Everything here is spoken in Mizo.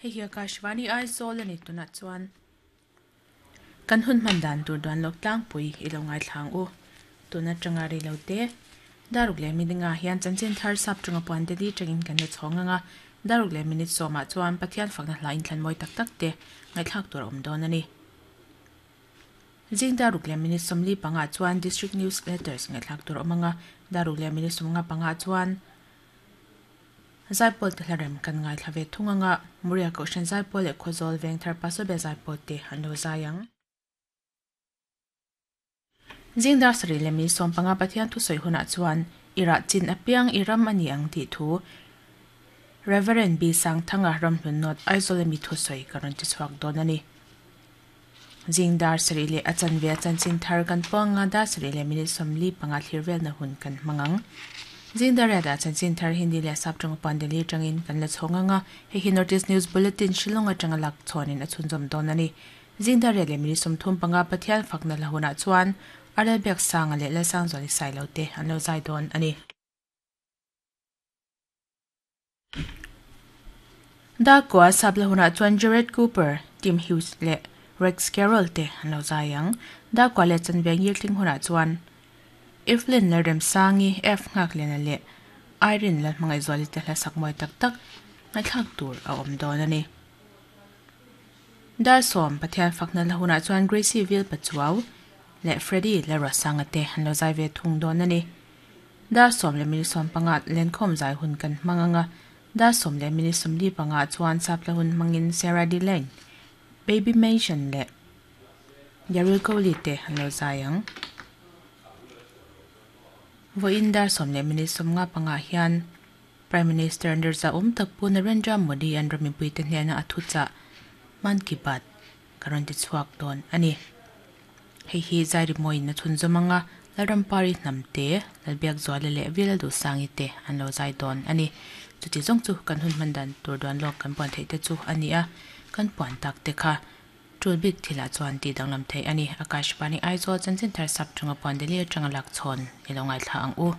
Hei hi Akashvani Aizawl a ni tunah chuan kan hun hman dan tur duan lawk tlangpui i lo ngaithla ang u. Tun atanga rei lo te Daruk leh minute hian chanchin thar sap tanga puan te li tangin kan la chhawng ang a, Daruk leh minute sawmah chuan Pathian fakna hla inthlan mawi tak tak te ngaihthlak tur a awm dawn a ni. Zing Daruk leh minute 45 chuan District News Letters ngaihthlak tur a awm ang a, Daruk leh minute 55 chuan Zaipawl te hlarem kan ngaithla ve thung ang a, Muria Kohhran Zaipawl leh Khawzawl Vengthar Pastor Zaipawl te an lo zai ang. Zing dar sarih leh minute 15 Pathian thusawi hunah chuan i rah chin apiang i ram a ni ang tih thu Reverend B Sangthanga Ramhlun North Aizawl ami thusawi ka rawn ti chhuak dawn a ni. Zing dar sarih leh a chanve a chanchin thar kan puang anga dar sarih leh minute 45 thlir velna hun kan hmang ang. Zing dar riatah chanchin thar Hindi leh Sap tawng puan Delhi atangin kan la chhawng anga hei hi North East News Bulletin Shillong atanga lak chhawnin a chhunzawm dawn a ni. Zing dar riat leh minute 35 Pathian fakna hla hunah chuan Arel Biaksanga leh Lalsangzuali Sailo te an lo zai dawn a ni. Darkua sap la hunah chuan Jared Cooper, Tim Hughes leh Rex Carroll te an lo zai ang. Darkua leh chanve ngirtling hunah chuan Evelyn Lalremsangi, F Nghakliana leh Irene Lalhmangaihzuali te hla sak mawi tak tak ngaihthlak tur a awm dawn a ni. Dar sawm Pathian fakna la hunah chuan Gracie Vil Pachuau leh Freddy Lalruasanga te an lo zai ve thung dawn a ni. Dar sawm leh minute 15 lenkhawm zai hun kan hmang ang a, dar sawm leh minute 45 chuan sapla hun hmangin Sarah Delane, Baby Mason leh Daryl Coley te an lo zai ang. Vawiin dar sawm leh minute 55 hian Prime Minister Nirza awm tak Pu Narendra Modi an ram mipuite hnena a thuchah Mann Ki Baat ka rawn ti chhuak dawn a ni. Hei hi zai rimawiin a chhunzawm ang a, Lalrampari Hnamte, Lalbiakzuala leh Vila Duhsangi te an lo zai dawn a ni. Chuti zawng chu kan hun hman dan tur duan lawk kan puan theih te chu a ni a, kan puan tak te kha tul bik thilah chuan tih danglam theih a ni. Akashvani Aizawl chanchin thar sap tanga puan Delhi atanga lak chhawn i lo ngaithla ang u.